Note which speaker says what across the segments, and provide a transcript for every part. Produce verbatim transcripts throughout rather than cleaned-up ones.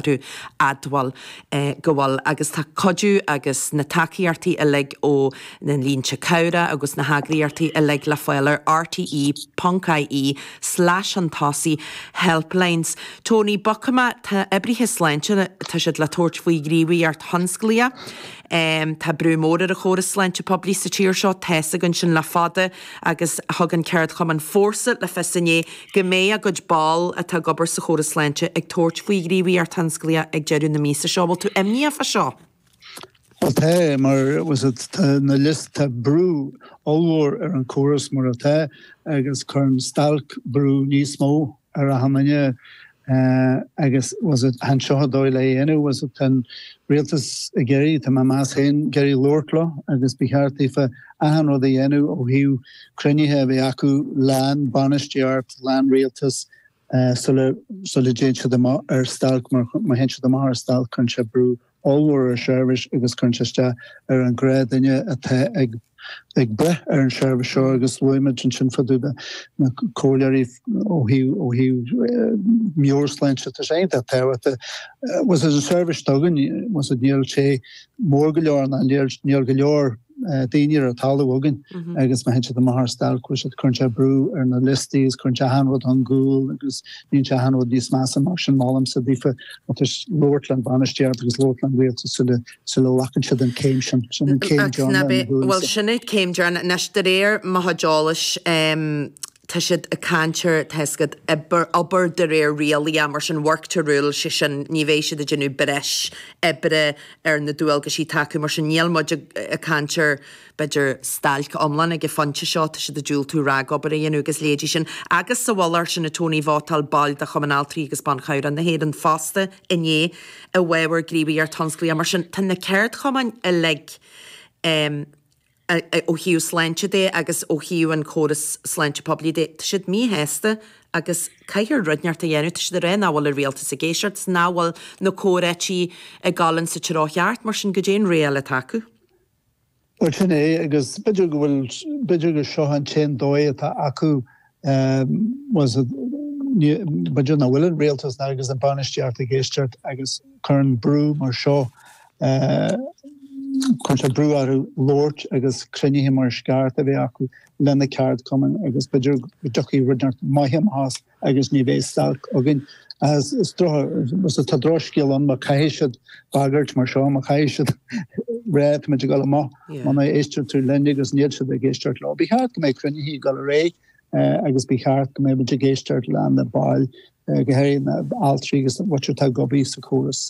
Speaker 1: orthu admháil go bhfuil agus tá cuidiú agus na tacaíochtaí uilig ó na línte cabhrach agus na heagraíochtaí uilig le fáil ar rte ponc ie slash chun tosaigh helplines. Tony, bogfaidh mé, tá oibrithe sláinte, tá siad le tabhairt faoi ghníomhaíocht thionsclaíoch. Tá brú mór ar an chóras sláinte poiblí sa tír seo, tá's againn sin le fada agus thug an ceardchumann Fórsa le fios inné go mbeidh a gcuid ball atá ag obair sa chóras sláinte ag tabhairt faoi ghníomhaíocht thionsclaíoch ag deireadh na míosa seo. Bhfuil tú imníoch fá seo?
Speaker 2: Bhuel tá, mar tá na liost, tá brú ollmhór ar an córas mar atá agus cuireann stailc brú níos mó ar achan duine agus was it chan seo an dóigh le dhéanamh, was it tá an rialtas ag iarraidh, tá mé meas féin, ag iarraidh labhairt leo agus ba cheart daofa achan rud a dhéanamh ó thaobh cruinnithe a bheith acu le'n bainistíocht, le'n rialtas sula sula dtéann siad amach ar stailc mar má théann siad amach ar stailc cuireann sé brú ollmhór ar seirbhís agus cuireann sé isteach ar an gnáthdhuine atá ag ag brath ar an seirbhís seo agus luaigh muid ansin fá dtaobh de na comhairleoirí ó thaobh ó thaobh meabhairshláinte tá sé iontach tábhachtach. Was it an seirbhís againn was it níl sé mór go leor ná níl níl go leor daoine ar an talamh againn agus má théann siad amach ar stailc was it cuireann sé brú ar na liostaí agus cuireann sé achan rud chun cúil agus níonn sé achan rud níos measa mar sin molaimse daofa agus labhairt le'n bainistíocht agus labhairt le'n rialtas sula sula nglacann siad an céim sin sin an céim deireanach ina
Speaker 1: Bhuel
Speaker 2: thuairimse.
Speaker 1: sin é céim deireanach. Anois de réir mo chuid eolais tá siad ag caint ar tá 'fhios agat obair obair de réir rialacha mar sin work to rule sé sin ní bheidh siad ag déanamh breis oibre ar na dualgaisí atá acu mar sin níl muid ag ag caint ar b'fhéidir stailc iomlán ag an phointe seo tá siad ag diúltú ragobair a dhéanamh agus leithéidí sin agus sa mhullach sin a Tony vótáil baill de Chumann Altraí agus Ban Chabhrach na hÉireann fosta inné i bhfabhar gníomhaíocht thionsclaíoch mar sin tá na ceardchumainn uilig um, ó thaobh sláinte de agus ó thaobh an córas sláinte poiblí de, tá siad míshásta agus caithfear rud inteacht a dhéanamh, tá siad ag rá nach bhfuil an rialtas ag éisteacht is nach bhfuil na comhráití ag dul in sa treo cheart, mar sin goidé an rogha eile atá acu.
Speaker 2: Bhuel sin é agus b'fhéidir go bhfuil b'fhéidir gur seo an t-aon dóigh atá acu was it b'fhéidir nach bhfuil an rialtas ná agus an bainistíocht ag éisteacht agus cuireann brú mar seo cuireann sé brú orthu labhairt agus cruinnithe mar is ceart a bheith acu lena ceardchumainn agus b'fhéidir go dtiocfaidh rud maith amach as agus ní bheidh stailc againn. Is tá drochscéal ann má caithfidh siad bagairt mar seo má chaithfidh siad rá tá muid ag dul amach muna éistear tú linn agus níl siad ag éisteacht leo. Ba cheart go mbeidh cruinnithe ag dul ar aghaidh agus ba cheart go mbeidh muid ag éisteacht le na baill go háirithe na altraí agus muintir atá ag obair sa chóras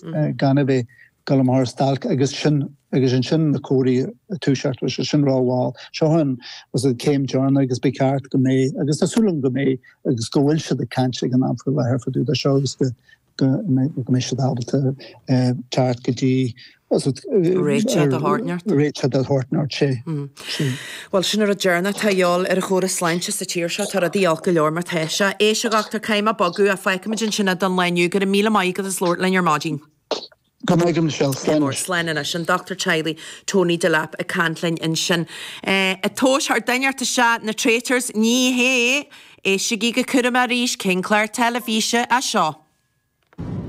Speaker 2: gan a bheith dul amach ar stailc agus sin agus ansin na comhráití ag toiseacht sé sin rómhall. Seo an was an céim deireanach agus ba cheart go mbeidh agus tá súil agam go mbeidh agus go bhfuil siad ag caint ag an am faoi láthair fá dtaobh de seo agus go go go mbeidh siad ábalta teacht go dtí
Speaker 1: Réiteach de shórt inteacht.
Speaker 2: Réiteach de shórt inteacht sé.
Speaker 1: Bhuel sin an rud deireanach atá de dhíobháil ar an chóras sláinte sa tír seo, tá rudaí olc go leor mar tá sé. Éist a dhochtúir, caithfidh mé bogadh ach fágfaimid ansin é don lá inniu. Go raibh míle maith agat as labhairt linn ar maidin.
Speaker 2: Go mbeidh agam Michelle. Slán
Speaker 1: anois. Slán anois. An dochtúir teaghlaigh Tony Delap ag caint linn ansin. Ag tomhais thar duine ort isteach na Traitors, ní hé! Éistigí go cúramach arís, cén clár teilifíse é seo?